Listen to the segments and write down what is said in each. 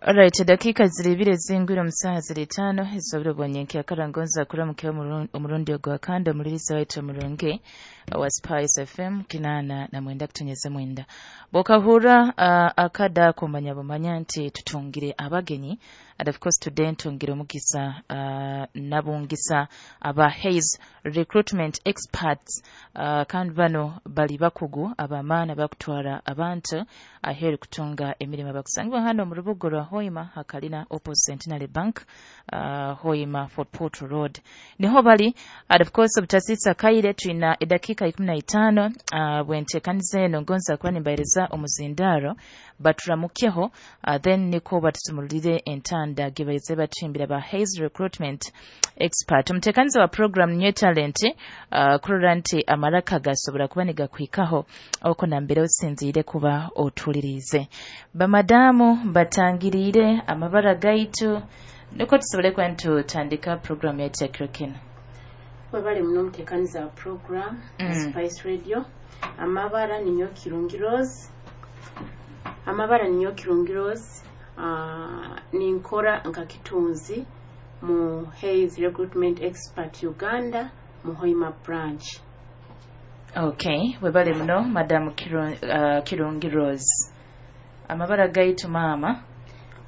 Alright, dakika ziri ibiri zingwire omu saaha ziri 5 ez'obwire bwa nyenkyakara. Ngonza kuramukayo omurundi ogwa kandi omuliriza waitu omurungi wa Spice FM 89.9. Bwokahurra akada kumanya bumanya nti tutungire abagenyi, and of course today ntungire omugisa nabungisa aba Hays Recruitment Experts, kandi bano bali bakugu abamaani bakutwara abantu aheeru kutunga emirimo. Bakusangibwa hano mu rubuga rwa Hoima, hakalina opposite Centenary Bank, Hoima Fort Portal Road niho bali. And of course obutasisa kaire, twina edakika 15. Bwentekaniza eno ngonza kuba nimbahereza omuzindaro baturamukeho, then niko batusumulire entanda gibaize batuhimbira ba Hays Recruitment Expert. Omutekaniza wa program New Talent, kurora nti amaraka gasobora kuba nigakwikaho oko nambere osinziire kuba otulirize. Bamadamu, batangiriire amabara gaitu niko tusobole kuba nitutandika program yaitu ya kiro kinu. Webale muno omuteekaniza wa program Spice Radio. Amabara ninyo Kirungi Rose. Amabara ninyo Kirungi Rose. Ninkora nka kitunzi mu Hays Recruitment Expert Uganda mu Hoima branch. Okay, webale muno Madam Kirungi Rose. Amabara gaitu, maama?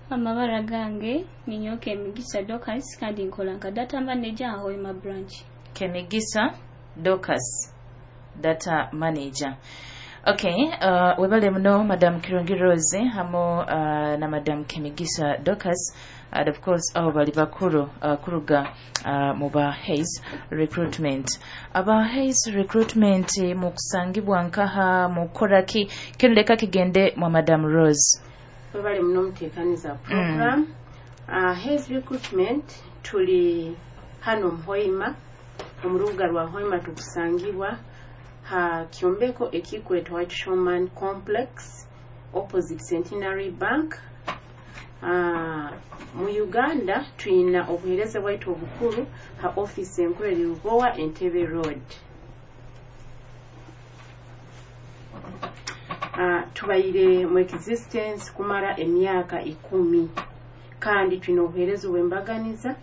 Amabara gange ninyo Kemigisa Dorcas, kandi nkola nka data manager Hoima branch. Kemigisa Dorcas, data manager. Okay, webale muno Madam Kirungi Rose hamu na Madam Kemigisa Dorcas, and of course abo bali bakuru kuruga mu ba Hays Recruitment. Aba Hays Recruitment mukusangibwa nkaha, mukoraki? Kinu leka kigende mwa Madam Rose. Webale muno omuteekaniza wa program. Hays Recruitment tuli hano mu Hoima, omu rubuga rwa Hoima. Tukusangibwa ha kyombeko ekikwetwa White Showman Complex, opposite Centenary Bank. Mu Uganda tuyina obuheereza bwaitu obukuru ha office enkuru eri Lubowa, Entebbe Road. Tubaire mu existence kumara emyaka 10, kandi twina obuheereza obwembaganiza.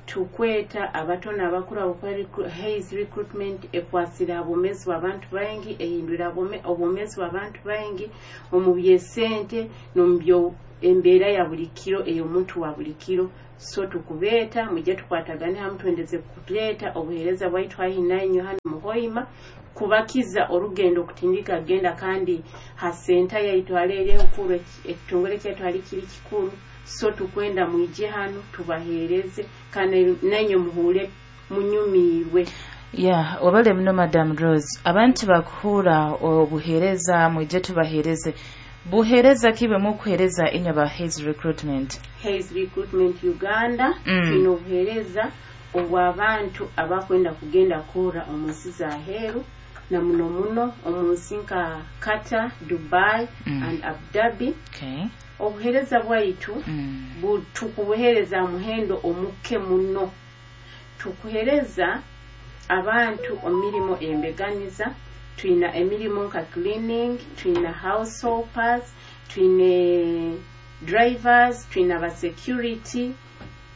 Tukweta abato n'abakuru abakora. Hays Recruitment ekwasira obwomeezi bw'abantu baingi, ehindura obwomeezi bw'abantu baingi omu byesente n'omu byo embeera ya buli kiro ey'omuntu wa buli kiro. So tukubeeta mujye tukwatagane hamu, twendeze kuleeta obuheereza bwaitu haihi nainywe hano mu Hoima, kubakiza orugendo okutindika genda. Kandi ha senta yaitu hali enkuru, ekitongole kyaitu hali kiri kikuru. So tukwenda mwije hano tubaheereze, kandi nainywe muhuure munyumiirwe. Yeah, wabale muno Madam Rose. Abantu bakuhura obuheereza, mwije tubaheereze, buheereza ki bwe mukuheereza inywe ba Hays Recruitment? Hays Recruitment Uganda twine obuheereza obw'abantu abakwenda kugenda kukora omu nsi z'aheeru, na muno muno omu nsi nka Qatar, Dubai and Abu Dhabi. Obuheereza bwaitu tukubuheereza muhendo omuke muno. Tukuheereza abantu omu mirimo embeganiza. Twina emirimu nka cleaning, twina house helpers, twine drivers, twina ba security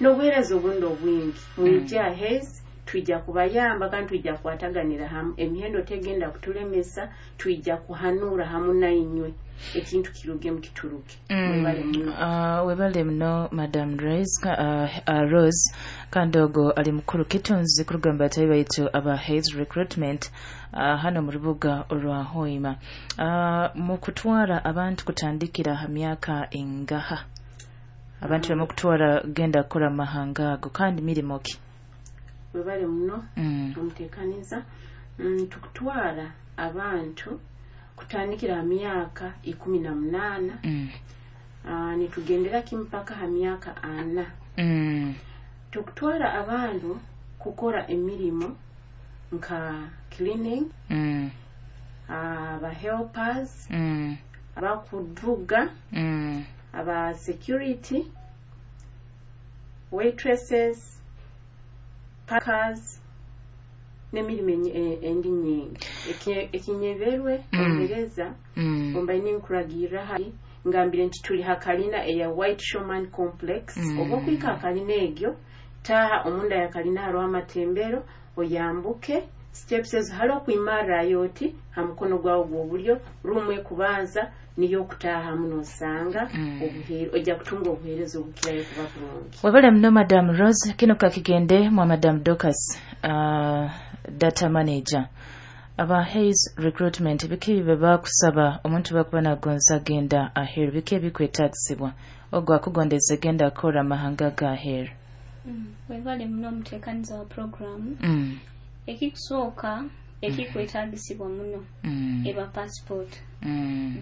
n'obuheereza obundi obwingi. Mwije mm. Hays, twija kubayamba kandi twija kukwataganira hamu. Emihendo tegenda kutulemesa, twija kuhanura hamu nainywe ekintu kirugemu kituruke. Mwebale muno. Webale muno Madam Rose, Rose, kandi ogo ali mukuru kitunzi kuruga mu batayi baitu aba Hays Recruitment hano mu rubuga rwa Hoima. Mu kutwara abantu kutandikira ha myaka ingaha? Abantu bemukutwara genda kukora mu mahanga ago, kandi mirimo ki? Webale muno omuteekaniza. Tukutwara abantu kutandikira ha myaka 18, nitugendera kimu paka ha myaka 40. Tukutwara abantu kukora emirimo nka cleaning, aba helpers, abakuvuga, aba security, waitresses, packers n'emirimo endi nyingi. Ekinyeberwe omuhereza ombaine nkuragirra hari Ngambire nti tuli ha kalina eya White Showman Complex. Oba okwika ha kalina egyo, taaha omunda ya kalina, hariho amatembero, oyambuke steps ezo, hariho okwimarrayo oti ha mukono gwawe gw'obulyo, ruumu ekubanza niyo okutaahamu, nosanga ojja kutunga obuheereza obukirayo kuba burungi. Webale muno, Madam Rose. Kino kakigende mwa Madam Dorcas, data manager aba Hays Recruitment. Biki bibe bakusaba omuntu bakuba nagonza agenda aheeru? Biki ebikwetagisibwa ogwo akugondeza genda akora amahanga ga aheeru? Webale muno, omuteekaniza wa programu. Ekikusooka ekikwetagisibwa muno eba passport.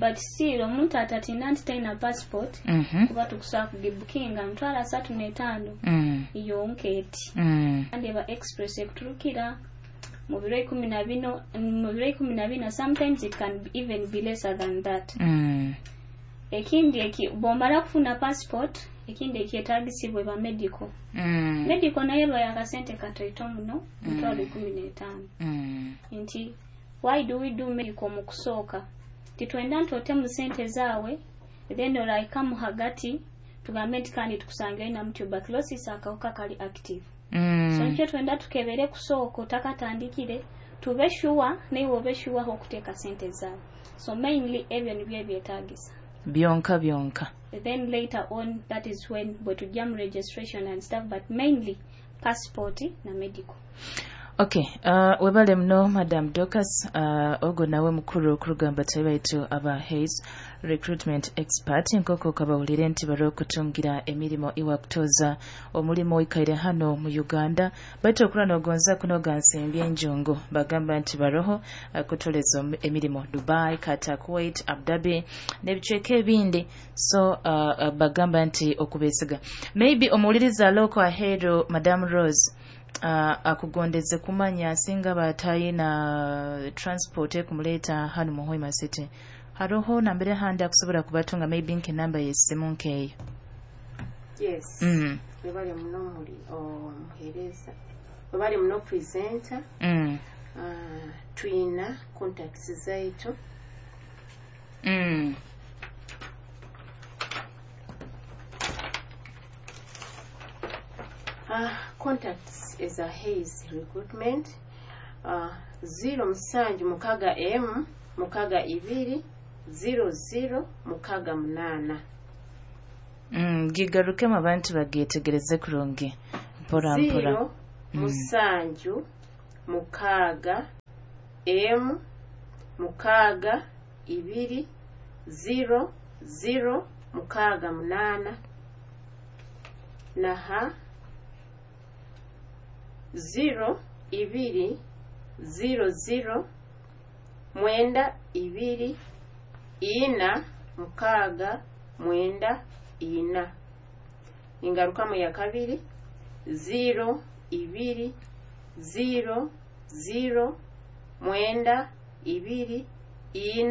But still omuntu atatina nti talina passport, kuba tukusobola kugibukinga 350 yonka eti. Kandi eba express, ekuturukira mu biro 14, mu biro 14. Sometimes it can even be lesser than that. Ekindi eki bw'omala kufuna passport, ekindi ekyetagisibwa eba medical. Medical naye eba yakasente katoito muno, 150,000. Nti why do we do medical? Mu kusooka titwenda nti otemu sente zaawe, then olaikamu hagati tugambe nti kandi tukusangira inamu tuberculosis, akawuka kali active. So nikyo twenda tukebere kusooka otakatandikire, tube sure, naiwe obe sure okuteeka sente zaawe. So mainly ebyo nibyo ebyetagisa. Byonka byonka. Then later on, that is when bwe tujja mu registration and stuff, but mainly passport na medical. Okay, webale muno, Madam Dorcas. Ogwo nawe mukuru okurugamba tayi baitu aba Hays Recruitment Expert, nk'oku kabawulire nti bari okutungira emirimu iwa kutoza omulimu oikaire hano mu Uganda, baitu okura nogonza kunoga nsimbi enjungu, bagamba nti baroho kutoleza emirimu Dubai, Qatar, Kuwait, Abu Dhabi n'ebicweka ebindi. So bagamba nti okubesiga maybe omuwuliriza aloko aheeru, Madam Rose, akugondeze kumanya singa batayina transport ekumuleeta hano mu Hoima City, haroho nambere handi akusobola kubatunga, maybe nk'enamba y'essimu nkeeyo? Yes. Webale muno muli omuheereza, webale muno presenter. Tuyina contacts zaitu. Contacts eza Hays Recruitment, 076 m 62 00 68. Gigarukemu abantu bagyetegereze kurungi, mpora mpora. 0 7 6 m 6 2 0 0 6 8 naha 0 2 0 0 9 2 4 6 9 4. Ingarukamu ya kabiri, 0 2 0 0 9 2 4.